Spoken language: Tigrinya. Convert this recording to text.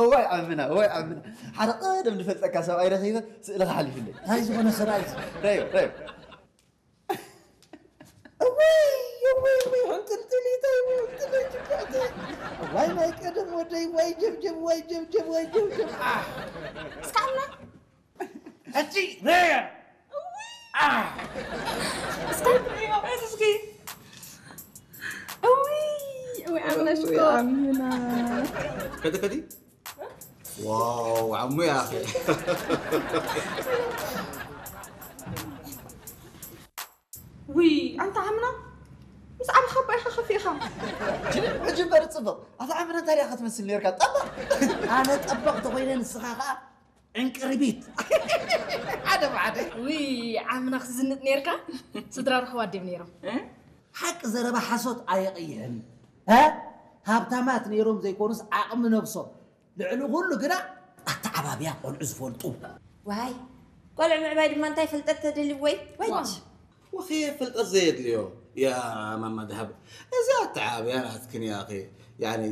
እዋይ ዓምና፣ እዋይ ዓምና። ሓደ ቀደም ዝፈልጠካ ሰብኣይ ረኺበ ስእልኻ ሓሊፉለይ። እንታይ ዝኾነ ሰብኣይ? ረዮ፣ ረዮ። እዋይ፣ እዋይ፣ እዋይ፣ ሕንጥልጥሊተይ፣ እዋይ፣ ሕንጥልጥሊተይ። እዋይ፣ ናይ ቀደም ወደይ፣ ዋይ ጀብጀብ፣ ዋይ ጀብጀብ፣ ዋይ ጀብጀብ። ኣህ። እስካብና ሕጂ ረያ። ኣህ። እስካብ እስኪ። እውይ፣ እውይ፣ ኣምላሽ እኮ። ኣምና። ከዲ፣ ከዲ። ዋው፣ ዓሙ ያኺ። ውይ፣ ኣንታ ዓምና፣ ምስ ዓብኻ እባ ኢኻ ከፊእኻ። ሕጂ እምበር ጽቡቕ። ኣታ ዓምና እንታይ ዲኻ ክትመስል ነርካ? ጠበቕ። ኣነ ጠበቕ ተኾይነ ንስኻ ኸኣ ዕንቅርቢት። ሓደ ብሓደ። ውይ፣ ዓምና ክትዝንጥ ነርካ። ስድራ ርሕዋ ድዮም ነይሮም? ሓቂ ዘረባ ሓሶት ኣየቐይሕን። እ? ሃብታማት ነይሮም ዘይኮኑስ ዓቕሚ ነብሶም። ልዕሊ ኩሉ ግና ኣተዓባብያ ቆልዑ ዝፈልጡ። ዋይ፣ ቆልዑ ምዕባይ ድማ እንታይ ፍልጠት ተደልዩ ወይ? ወይ። ዋው። ወኸ ፍልጠት ዘየድልዮ ያ ማማ ድሃብ። እዚ ኣተዓባብያ ናትክን ያኺ። ያኒ